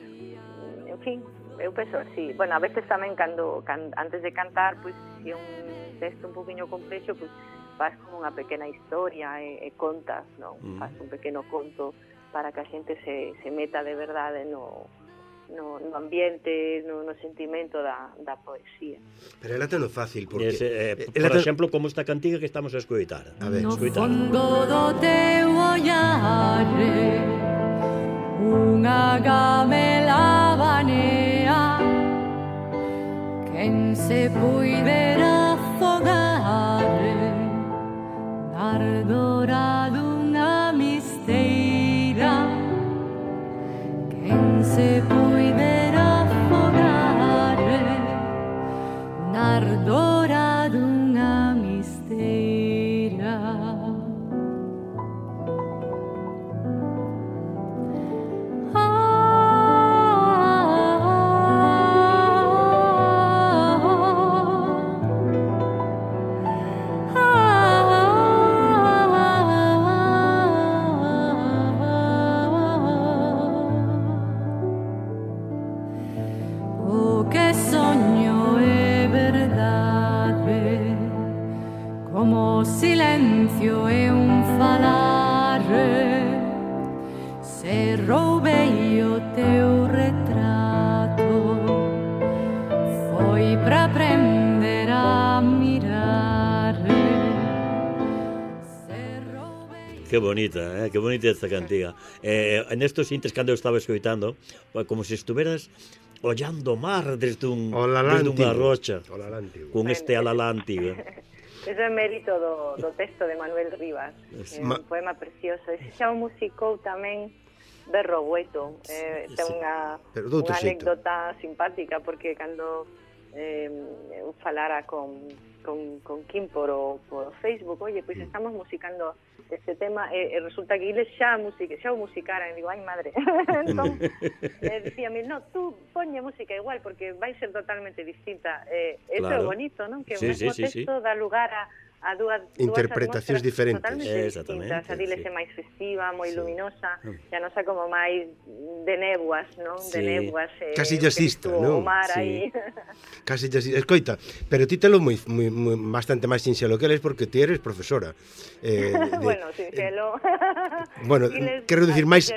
en fin, eu penso así. Bueno, a veces tamén, cando, can, antes de cantar, pois, se é un texto un poquinho complexo, pois, faz como unha pequena historia e, e contas, non? Mm. Faz un pequeno conto para que a xente se, se meta de verdade no, no, no ambiente, no, no sentimento da, da poesía. Pero ela ten o fácil, porque... Ese, eh, ela por ten- exemplo, como esta cantiga que estamos a escoitar. A ver, No escoitar. fondo do teu ollare unha gamela manea, quen se puidera afogare na ardora dunha misteira, quen se puidera afogare na ardora dunha misteira. Silencio e un falare, se roubei o teu retrato, foi para aprender a mirar. Que bonita, eh? Que bonita esta cantiga. Eh, en estos intres, cando eu estaba escoitando, como se estuveras ollando o mar desde, un, desde unha rocha, con este alalá antigo. Eso é mérito do, do texto de Manuel Rivas, é un poema precioso. Ese xa o musicou tamén Berro Bueto. Eh, ten unha, unha anécdota simpática, porque cando eh, eu falara con, con, con Kim por o, por Facebook, oye, pois pues estamos musicando este tema, e, e resulta que eles xa, music, xa o musicaran, e digo, ai madre. Entón, eh, dicíame, no, tú ponlle música igual, porque vai ser totalmente distinta. Eh, eso claro. É bonito, non? Que o sí, mesmo sí, texto sí, sí. dá lugar a, a dúas, interpretacións dúas diferentes. Totalmente distintas. A diles sí. É máis festiva, moi sí. luminosa, e a nosa como máis de néboas, non? Sí. De néboas. Eh, casi jazzista, non? O mar sí. aí. Casi jazzista. Escoita, pero ti telo moi, moi, moi, bastante máis sinxelo que eles, porque ti eres profesora. Eh, de, bueno, sinxelo. Eh, bueno, quero dicir máis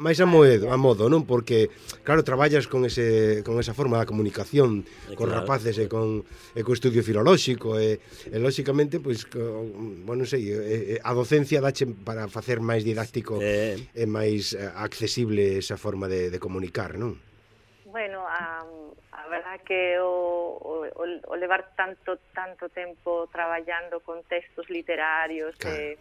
máis a modo, a modo, non? Porque claro, traballas con ese con esa forma da comunicación eh, con claro. rapaces e con e co estudio filolóxico e, e lóxicamente pois co, bueno, non sei, e, a docencia dache para facer máis didáctico eh. e máis accesible esa forma de, de comunicar, non? Bueno, a, a verdad que o, o, o levar tanto tanto tempo traballando con textos literarios, claro. eh,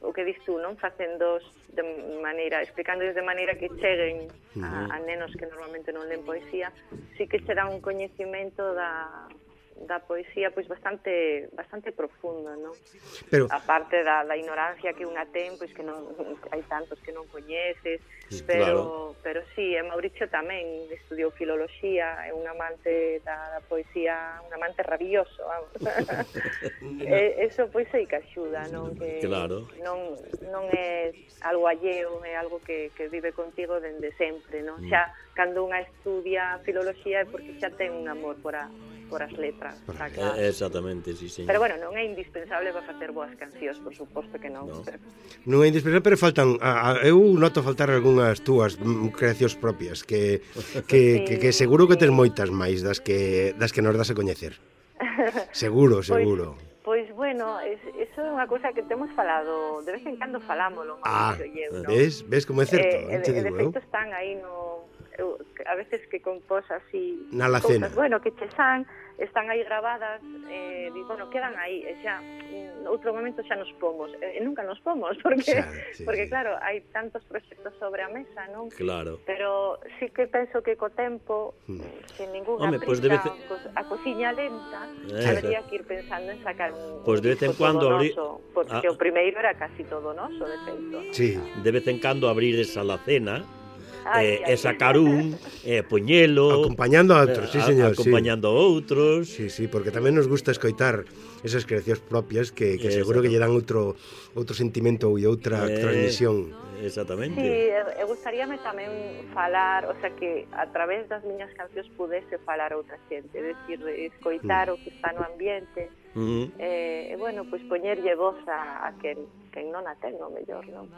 o que dis tú, non? Facéndoos de maneira, explicándoos de maneira que cheguen a, a nenos que normalmente non len poesía, sí que será un coñecimento da, da poesía pois bastante bastante profundo, non? Pero a parte da, da ignorancia que unha ten, pois que non hai tantos que non coñeces, pero claro. Pero sí, e Mauricio tamén estudiou filoloxía, é un amante da, da poesía, un amante rabioso, vamos. e, eso pois sei que axuda, non? Que claro. non non é algo alleo, é algo que, que vive contigo dende sempre, non? Mm. Xa cando unha estudia filoloxía é porque xa ten un amor por a por as letras, está claro. Eh, exactamente, sí, señor. Pero bueno, non é indispensable para facer boas cancións, por suposto que non. No. Non é indispensable, pero faltan, a, a, eu noto faltar algunhas túas creacións propias que que, sí, que, que seguro que tes moitas máis das que das que nos das a coñecer. Seguro, seguro. Pois, pois bueno, es, eso é unha cousa que temos falado, de vez en cando falámolo, ah, eu, ¿no? ves, ves como é certo, eh, eh, de, digo, de feito están aí no eu, a veces que compós así na alacena, bueno, que che san, están aí grabadas, eh, digo, bueno, quedan aí, e xa, en outro momento xa nos pomos, e, e nunca nos pomos, porque, xa, sí, porque sí. Claro, hai tantos proxectos sobre a mesa, non? Claro. Pero sí que penso que co tempo, hmm. sin ninguna Home, prisa, pues debe... a cociña lenta, eh, habría que ir pensando en sacar un pues de vez en cuando abrir... porque ah. o primeiro era casi todo noso, de feito. Sí. De vez en cando abrir esa alacena, Ay, eh, e sacar un, eh, poñelo acompañando a outros, sí, señor, acompañando sí. a outros. Sí, sí, porque tamén nos gusta escoitar esas creacións propias que, que seguro que lle dan outro outro sentimento e outra eh, transmisión. Exactamente. Sí, e gustaríame tamén falar, o sea, que a través das miñas cancións pudese falar a outra xente, é dicir, escoitar mm. o que está no ambiente. Uh-huh. eh, e, bueno, pois pues, poñerlle voz a, a quen, quen non a ten, o mellor, non?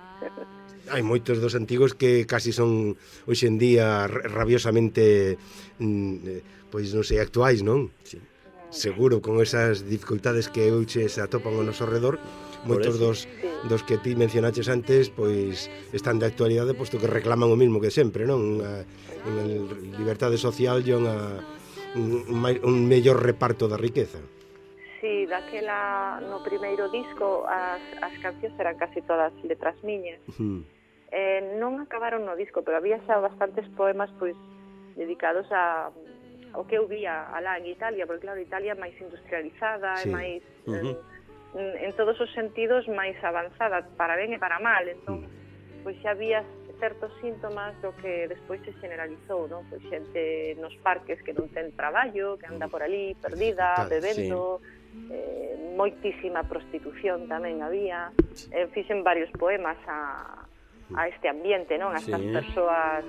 Hai moitos dos antigos que casi son hoxe en día rabiosamente mm, pois non sei, actuais, non? Sí. seguro, con esas dificultades que hoxe se atopan ao noso redor, moitos dos, sí. dos que ti mencionaches antes, pois están de actualidade, posto que reclaman o mismo que sempre, non? Unha, unha liberdade social e unha, un, un mellor reparto da riqueza. Sí, daquela, no primeiro disco, as, as cancións eran casi todas letras miñas. Uh-huh. Eh, non acabaron no disco, pero había xa bastantes poemas pois dedicados a ao que eu vía alá en Italia, porque claro, Italia é máis industrializada, sí. é máis Uh-huh. en, en todos os sentidos máis avanzada, para ben e para mal. Entón, pois xa había certos síntomas do que despois se generalizou, non? Pois xente nos parques que non ten traballo, que anda por ali perdida, bebendo, sí. eh, moitísima prostitución tamén había. Eh, fixen varios poemas a a este ambiente, non? A estas sí. persoas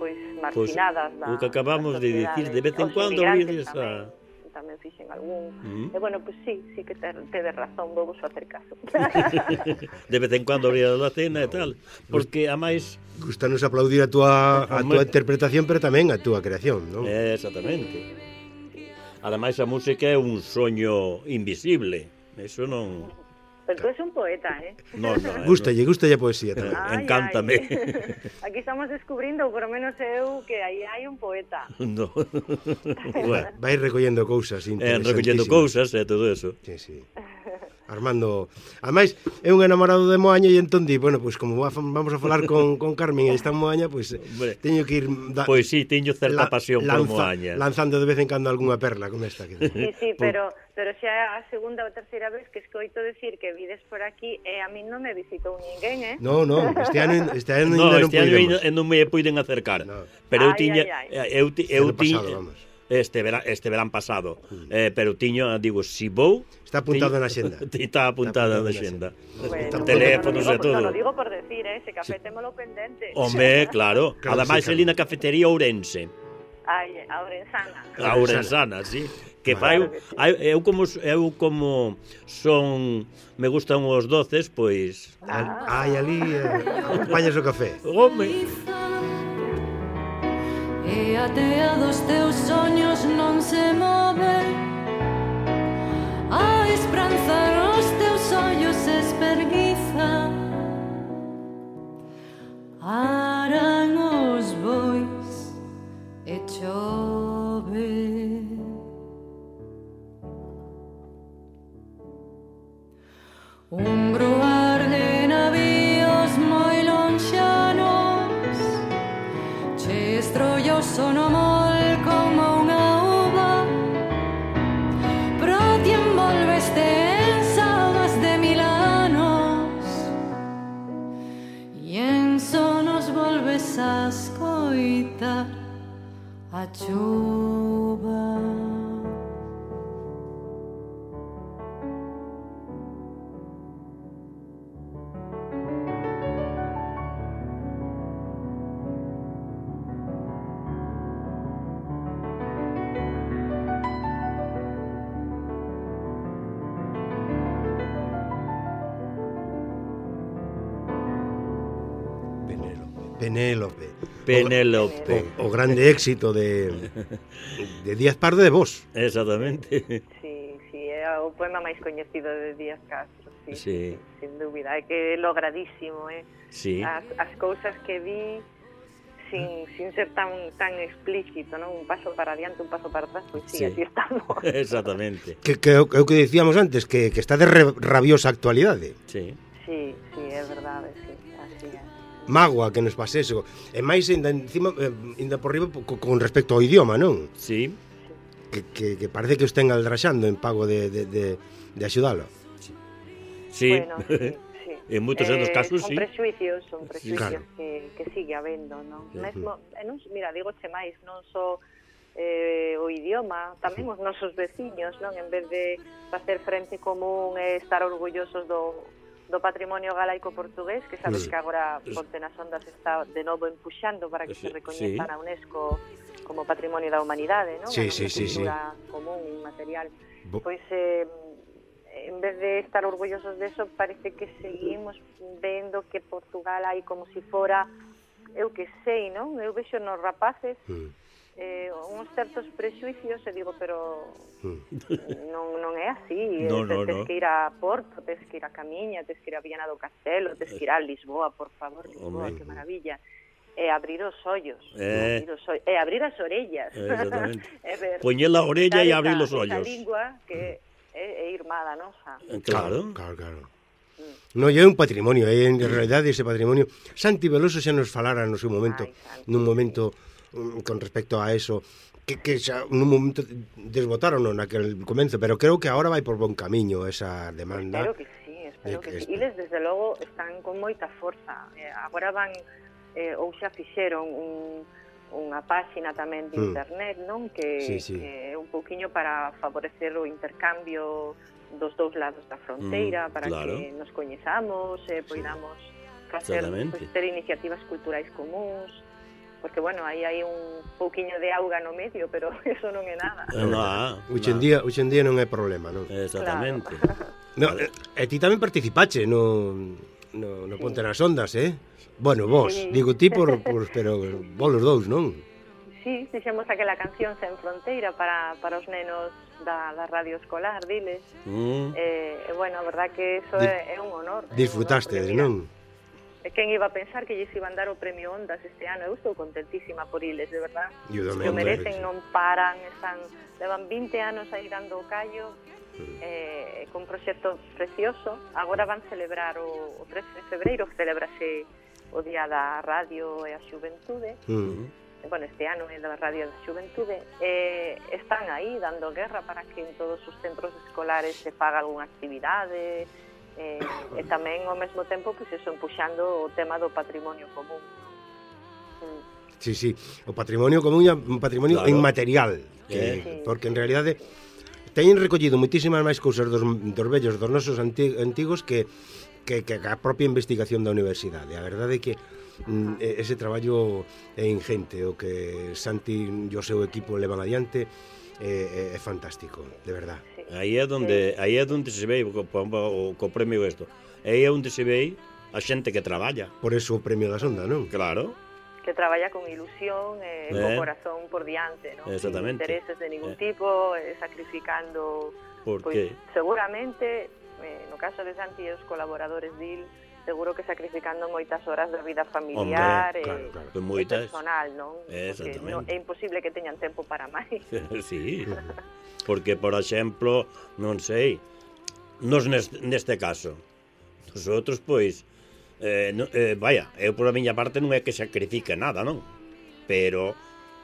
pois marginadas pues, da, o que acabamos de dicir, de vez en cuando oídes a... tamén fixen algún. Mm. E bueno, pois pues, sí, sí que tedes razón, vou vos facer caso. De vez en cuando abría a cena e tal, porque a máis gustanos aplaudir a túa a túa interpretación, pero tamén a túa creación, non? Eh, exactamente. Ademais a música é un soño invisible. Eso non. Pero tú és un poeta, eh? No, no, Gústalle, gústalle a poesía tamén. Ay, encántame. Ay. Aquí estamos descubrindo, por lo menos eu, que aí hai un poeta. No. Bueno. Vai recollendo cousas Eh, recollendo cousas e todo eso. Sí, sí. Armando, ademais é un enamorado de Moaña e entón di, bueno, pois pues, como vamos a falar con, con Carmen e está en Moaña, pois pues, teño que ir da, Pois pues sí, teño certa la, pasión lanza, por Moaña. Lanzando de vez en cando algunha perla como esta. Que... Sí, sí, pero pero xa é a segunda ou terceira vez que escoito decir que vides por aquí e a mí non me visitou ninguén, eh? No, no, este ano, este ano no, ainda non este ano podemos. non me puiden acercar. No. Pero eu ay, tiña ay, ay. eu ti, eu tiña este verán este verán pasado, mm. eh, pero tiño, digo, si vou, está apuntado tiño, na xenda. Está apuntada na xenda. Bueno, teléfonos no, no, e todo. Non lo digo por decir, eh, ese café sí. Témolo pendente. Home, claro. claro Ademais, sí, ali na cafetería Ourense. Ai, a Ourensana. A Ourensana, sí. Que Vale. fai, eu como eu como son me gustan os doces, pois ah. Ai, ali eh, acompañas o café. Home. E a tea dos teus soños non se move, a esperanza nos teus ollos se esperguiza, aran os bois e chove. Un bruar de navíos moi lonxanos che estrollo sono mol como unha uva, pero ti envolveste en sabas de mil anos e en sonos volves a escoitar a chuva. Penélope. Penélope. O, o grande éxito de, de Díaz Pardo de Vos. Exactamente. Sí, sí, é o poema máis coñecido de Díaz Castro, sí, sí. sí, sin dúbida, é que é logradísimo, eh? Sí. As, as cousas que vi sin, sin ser tan tan explícito, non? Un paso para adiante, un paso para atrás, pois sí, sí. Así estamos. Exactamente. Que, que, que o que dicíamos antes, que, que está de re, rabiosa actualidade. Sí. Sí, sí, é verdade, sí, así é. Mágoa que nos pase eso. E máis ainda encima, ainda por riba con respecto ao idioma, non? Sí. Que, que, que parece que os ten aldraxando en pago de, de, de, de axudalo. Sí. Bueno, sí, sí. En moitos eh, dos casos, son sí. Prejuicios, son prejuicios claro. que, que sigue habendo, non? Uh-huh. Mesmo, e non, mira, digo che máis, non só eh, o idioma, tamén os nosos veciños, non? En vez de facer frente común e estar orgullosos do do patrimonio galaico portugués, que sabes sí. que agora Ponte nas Ondas está de novo empuxando para que sí, se recoñeza sí. na UNESCO como Patrimonio da Humanidade, non? Sí, sí, sí, sí. común, inmaterial. Bo... Pois, eh, en vez de estar orgullosos de eso, parece que seguimos vendo que Portugal hai como si fora, eu que sei, non? Eu vexo nos rapaces, mm. eh, uns certos prexuicios e digo, pero Mm. non, non é así. No, eh, no, tes no. que ir a Porto, tes que ir a Camiña, tes que ir a Viana do Castelo, tes que ir a Lisboa, por favor, Lisboa, Home. que maravilla. E abrir os ollos, Eh. abrir os ollos, e abrir as orellas. Exactamente. E ver, Poñer la orella quitar e abrir esa- los ollos. Esa lingua que é, é irmada nosa. Claro. Claro, claro. No, é un patrimonio, é en realidade ese patrimonio. Santi Veloso xa nos falara no seu momento, Ai, Santi. nun momento mm, con respecto a eso, que, que xa nun momento desbotaron naquel comenzo, pero creo que agora vai por bon camiño esa demanda. Espero que sí, espero de que, que sí. este- Iles, desde logo, están con moita forza. Eh, agora van, eh, ou xa fixeron un, unha páxina tamén de Mm. internet, non? Que, Sí, sí. que é un pouquiño para favorecer o intercambio dos dous lados da fronteira, Mm, para claro. que nos coñezamos, eh, poidamos facer, Exactamente. pues, ter iniciativas culturais comuns, porque, bueno, aí hai un pouquiño de auga no medio, pero eso non é nada. Eh, No, Hoxe en no. día, hoxe en día non é problema, non? Exactamente. No, e, e ti tamén participache no, no, no Ponte nas Ondas, eh? Bueno, vos, Sí. digo ti por, por pero vos los dous, non? Sí, fixemos aquela canción Sen Fronteira para, para os nenos da, da radio escolar, diles. Mm. E, eh, bueno, a verdad que eso Dis- é, é un honor. é un Disfrutaste, honor, porque, mira, non? E quen iba a pensar que lles iban dar o premio Ondas este ano? Eu estou contentísima por iles, de verdad. Eu Que tamén, o merecen, sí. non paran, están, levan vinte anos aí dando o callo, eh, con un proxecto precioso. Agora van celebrar o, o trece de febreiro, celebrase o Día da Radio e a Xuventude. Mm. Bueno, este ano é da Radio da Xuventude, eh, están aí dando guerra para que en todos os centros escolares se faga algunha actividade, eh, e tamén ao mesmo tempo pois eso, empuxando o tema do patrimonio común. Mm. Sí, sí, o patrimonio común é un patrimonio Claro. inmaterial, que, Sí. porque en realidade teñen recollido moitísimas máis cousas dos, dos vellos, dos nosos anti, antigos que, que, que a propia investigación da universidade. A verdade é que mm, ese traballo é ingente, o que Santi e o seu equipo levan adiante é, é, é fantástico, de verdad. Sí. Aí é onde aí é onde se ve co, co, co premio isto. Aí é onde se ve a xente que traballa. Por eso o premio da Sonda, non? Claro. Que traballa con ilusión e eh, Eh. co corazón por diante, ¿no? Exactamente. Sin intereses de ningún Eh. tipo, eh, sacrificando, Por pois, que? seguramente, eh, no caso de Santi e os colaboradores dil, seguro que sacrificando moitas horas da vida familiar Hombre, e, claro, claro. Pues e moitas. personal, non? Porque Exactamente. non, é imposible que teñan tempo para máis. Sí. Porque, por exemplo, non sei, nos neste, neste caso, nosotros, pois, eh, no, eh, vaya, eu por a miña parte non é que sacrifique nada, non? Pero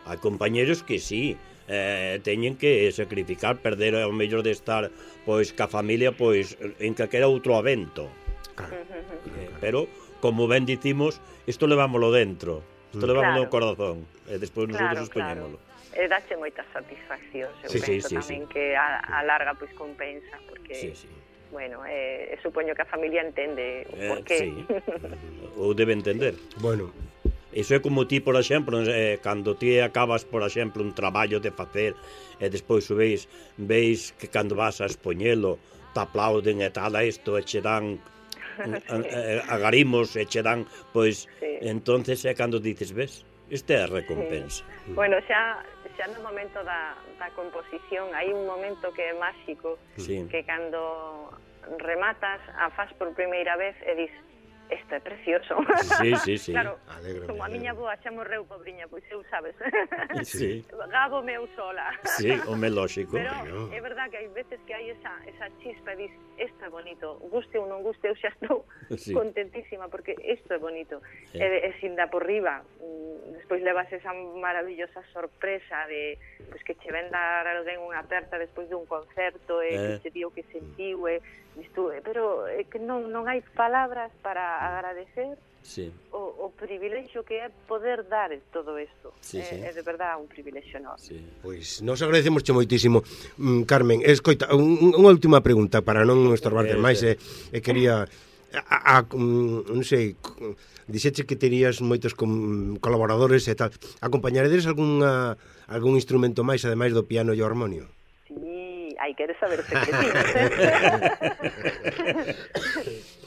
hai compañeros que sí, eh, teñen que sacrificar, perder o mellor de estar, pois, ca familia, pois, en calquera outro evento. Claro. Eh, pero, como ben dicimos, isto levámoslo dentro, isto Mm. levámoslo no Claro. corazón, e despois Claro, nosotros poñémolo. E dache moitas satisfaccións, eu Sí, sí, penso sí, tamén sí. que a, a larga pois compensa, porque, Sí, sí. bueno, eh, supoño que a familia entende o Eh, por qué. sí. Ou debe entender. Bueno, Iso é como ti, por exemplo, eh, cando ti acabas, por exemplo, un traballo de facer e despois o veis, veis que cando vas a expoñelo te aplauden e tal a isto e che dan eh, agarimos e che dan, pois, Sí. entonces é cando dices, ves, isto é a recompensa. Bueno, xa, xa no momento da, da composición hai un momento que é máxico, Sí. que cando rematas a faz por primeira vez e dis, isto é precioso. Sí, sí, sí. Claro, Alégrame, como a miña alégrame. boa xa morreu, pobriña, pois eu, sabes, Sí, gabo meu sola. sí, home lóxico. Pero Bueno. é verdad que hai veces que hai esa, esa chispa e dis, isto é bonito, guste ou non guste, eu xa estou Sí. contentísima porque isto é bonito. Sí. E, e sin da por riba, mm, despois levas esa maravillosa sorpresa de pois, que che ven dar alguén unha aperta despois dun concerto e Eh. que che dio que sentiu e dis tú, eh, pero é que non, non hai palabras para agradecer Sí. o, o privilexio que é poder dar todo isto. Sí, é, sí. é de verdad un privilexio enorme. Sí. pois nos agradecemos moitísimo. Mm, Carmen, escoita, un, unha última pregunta para non estorbarte Eh, máis sí. e, e quería a, a, mm, non sei, c- dixeche que terías moitos com, colaboradores e tal. Acompañaredes algunha algún instrumento máis ademais do piano e o armonio? Sí, Ai, queres saber os secretiños, eh?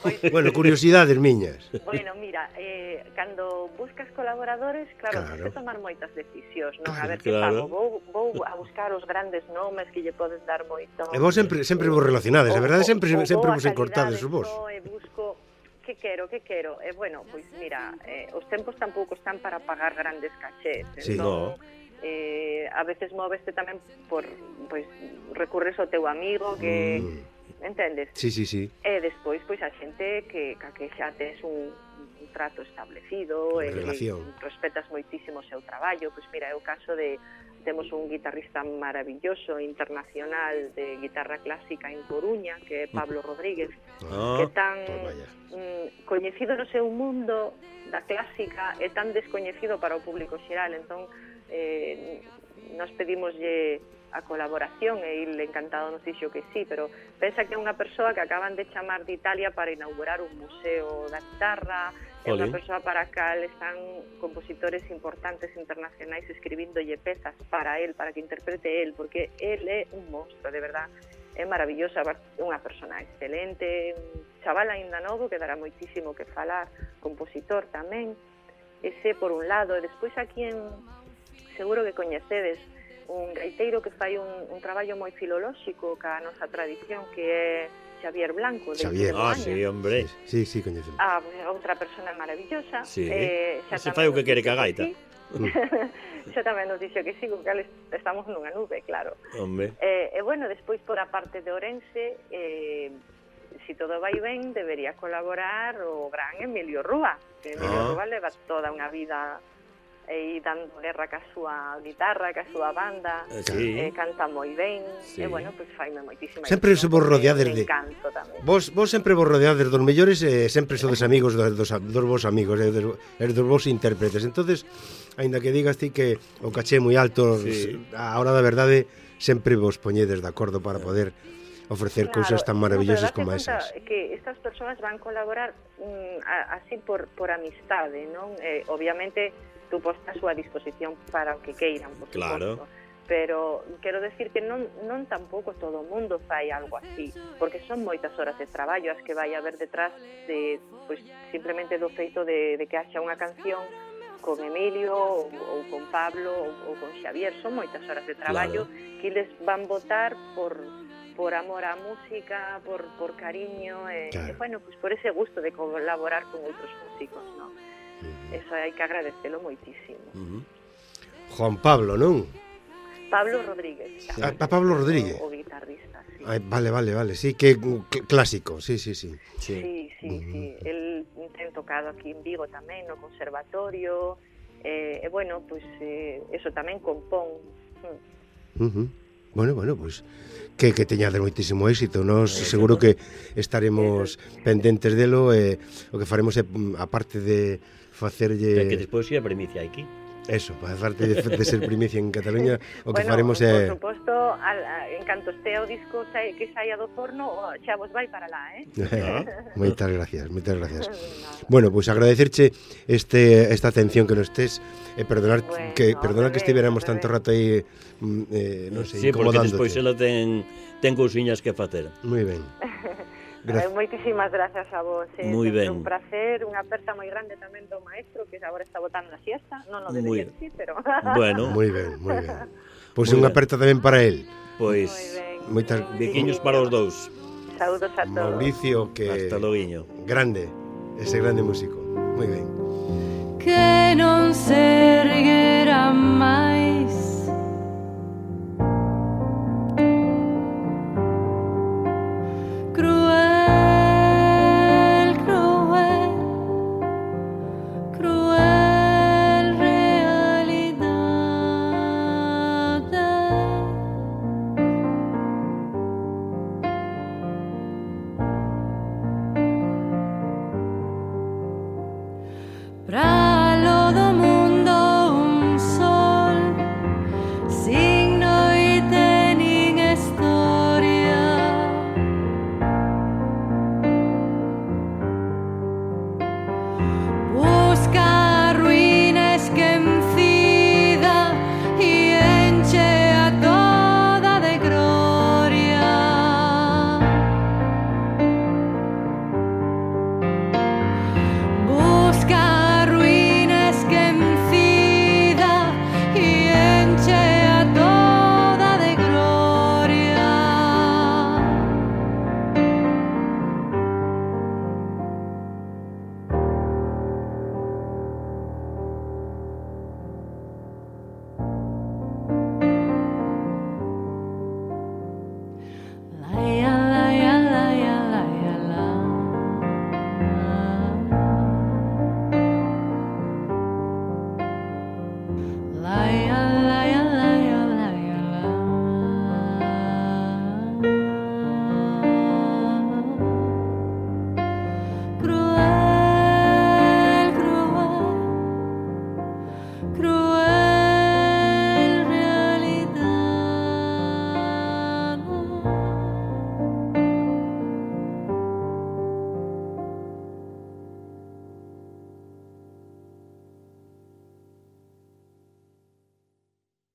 Pois, bueno, curiosidades miñas. Bueno, mira, eh, cando buscas colaboradores, claro, Claro. tens que tomar moitas decisións, non? Claro, A ver que claro. fago, vou, vou a buscar os grandes nomes que lle podes dar moito. E vos sempre sempre vos relacionades, a verdade sempre O- o sempre vou vos a encortades calidade, vos. só e busco que quero, que quero. E bueno, pois mira, eh, os tempos tampouco están para pagar grandes cachés. Sí. Entón, eh, a veces móveste tamén por, pois, recurres ao teu amigo que, Mm. entendes? Sí, sí, sí. E despois, pois, a xente que, ca que xa tes un, un trato establecido, Unha e relación. que respetas moitísimo o seu traballo. Pois mira, é o caso de, temos un guitarrista maravilloso, internacional, de guitarra clásica en Coruña, que é Pablo Rodríguez, Ah, que é tan toma ya. mm, coñecido no seu mundo da clásica e tan descoñecido para o público xeral. Entón, eh, nos pedimoslle a colaboración e ele encantado nos dixo que sí, pero pensa que é unha persoa que acaban de chamar de Italia para inaugurar un museo da guitarra, é unha Jolín. persoa para a cal están compositores importantes internacionais escribíndolle pezas para él, para que interprete él, porque él é un monstro, de verdad. É maravillosa, é unha persona excelente, un chaval aínda novo que dará moitísimo que falar, compositor tamén. Ese por un lado, e despois aquí en seguro que coñecedes un gaiteiro que fai un, un traballo moi filolóxico ca nosa tradición, que é Xavier Blanco, de Xavier. ah, Moaña. sí, hombre. Sí, sí, coñecemos. Ah, outra persona maravillosa. Sí. Eh, xa Ese tamén fai o que nos quere dixo ca gaita. sí. Xa tamén nos dixo que sí, co cal estamos nunha nube, claro. Hombre. E, e bueno, despois por a parte de Ourense, eh, si todo vai ben, debería colaborar o gran Emilio Rúa, que Emilio Ah. Rúa leva toda unha vida aí dando guerra ca súa guitarra, ca súa banda, Eh, sí. eh, canta moi ben, Sí. e bueno, pois faime moitísima Sempre ilusión, somos porque rodeados me de- encanto tamén. Vos, vos sempre vos rodeades dos mellores e sempre sodes amigos dos, dos, dos vos amigos e dos, e dos vos intérpretes. Entonces, aínda que digas ti que o caché moi alto, Sí. a hora da verdade sempre vos poñedes de acordo para poder ofrecer cousas tan maravillosas como esas. Que estas persoas van colaborar mm, a, así por, por amistade, non? Eh, obviamente, tú postas a súa disposición para o que queiran, por Claro. suposto. Pero quero decir que non, non tampouco todo o mundo fai algo así, porque son moitas horas de traballo as que vai haber detrás de, pois, simplemente do feito de, de que haxa unha canción con Emilio ou, ou con Pablo ou, ou con Xavier. Son moitas horas de traballo Claro. que les van votar por por amor á música, por, por cariño, e, Claro. e bueno, pues por ese gusto de colaborar con outros músicos, ¿no? Eso hai que agradecelo moitísimo. Uh -huh. Juan Pablo, non? Pablo Rodríguez, Sí. A, a Pablo Rodríguez. o, o guitarrista, sí. Ai, vale, vale, vale, sí, que cl- clásico, sí, sí, sí. Sí. Sí, sí, sí. El ten tocado aquí en Vigo tamén, no conservatorio, e, eh, eh, bueno, pues eh, eso tamén compón. Mm. Uh -huh. Bueno, bueno, pois pues, que, que teñades moitísimo éxito. Nos seguro que estaremos pendentes delo e o que faremos é, aparte de facerlle Que despois ia primicia aquí. eso, aparte de, de ser primicia en Cataluña, o que Bueno, faremos por é suposto, al, a, en canto estea o disco sai, que saia do forno, o- xa vos vai para lá, eh? moitas gracias, moitas gracias. Nada. Bueno, pois pues agradecerche este esta atención que nos tes e perdonar Bueno, que perdonar que bebé, estiveramos bebé. tanto rato aí mm, eh, non sei, Sí, porque incomodándote. despois ela ten, ten cousiñas que facer. Moi ben. Eh, Gracias. moitísimas gracias a vos. Eh. Moi Sempre ben. un placer, unha aperta moi grande tamén do maestro, que agora está botando a siesta. Non o Moi- debería decir, pero... Bueno, Moi ben, moi ben. Pois Moi unha ben. aperta tamén para el. pois Moi ben. Moitas biquiños para os dous. Saúdos a todos. Mauricio, que Hasta loguiño. grande, ese grande músico. Moi ben. que non se erguera máis.